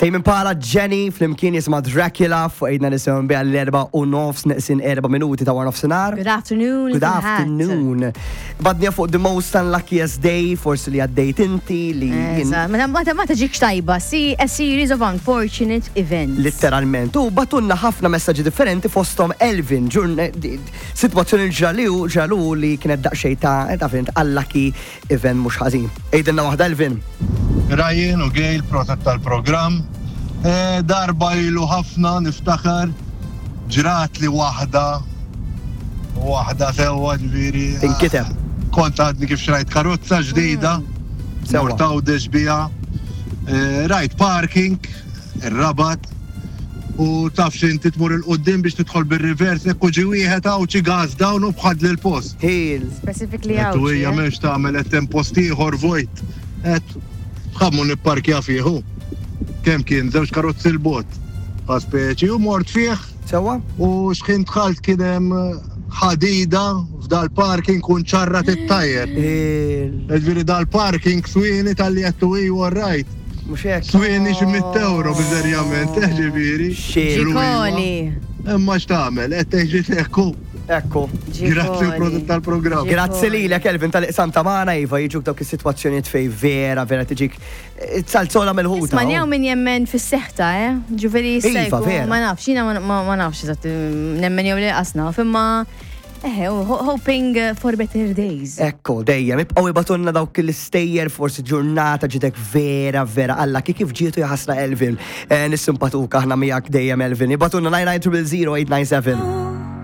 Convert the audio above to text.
Tame Impala Jenny flimkien jisma Dracula fuq għidna nisimgħu biha l-erba u nofs neqsin erba minuti ta' war nofsinhar. Good afternoon. Good afternoon. Badnija fuq the most unluckiest day, forsi li għaddejt inti li. Ma ma tiġikx tajba, see a series of unfortunate events. Literalment. U batunna ħafna messaġġi differenti fosthom Elvin, situazzjoni ġraliu ġralu li kienet daqsxejn ta' ta' fint unlucky Event mhux ħażin. Għidilna waħda Elvin. Ryan u Gail proset tal-programm. Eh, darba ilu ħafna niftakar ġratli waħda waħda sewwa ġifieri. Inkiteb. Kont għadni kif xrajt karozza ġdida. Sewwa. Mort Għawdex biha. Eh, rajt parking, ir-Rabat, u taf x'inti tmur 'il quddiem biex tidħol bir-reverse hekk u ġie wieħed Għawdxi gas down u bħadli l-post. Heel. Specifically Għedt u Għawdxi. hija eh? m'hemmx tagħmel għedt hemm post ieħor vojt. Għedt ħa mmur nipparkja fih hu. Kemm kien żewġ karozzi 'l bogħod bħal speċi u mort fih Sewwa? u x'ħin dħalt kien hemm ħadida f'dal-parking u nċarrat it-tajer. Heel. Ġifieri dal-parking swieni talli għedtu iju all right. Mhux hekk. Swieni xi mitt euro miżerjament, eh ġifieri. Ġikoli. Imma x'tagħmel, qed tgħid ekku. Ekku. Grazzi u prosit tal-programm. Grazzi lilek Elvin tal-iqsam ta' magħna iva jiġuk dawk is-sitwazzjonijiet fej vera vera tiġik eh, salzola mill-ħuta. Isma' jew min jemmen fis-seħta, eh? Ġifieri Iva, vera. Ma nafx, jiena ma nafx eżatt nemmen jew le qas naf, imma Eħe, hoping for better days. Ekku, dejjem, ibqgħu ibatunna dawk l-istejjer forsi ġurnata ġitek vera, vera, alla kif ġietu jaħasra Elvin. Eh, nissimpatuka aħna miegħek dejjem Elvin. Ibatunna 990 897.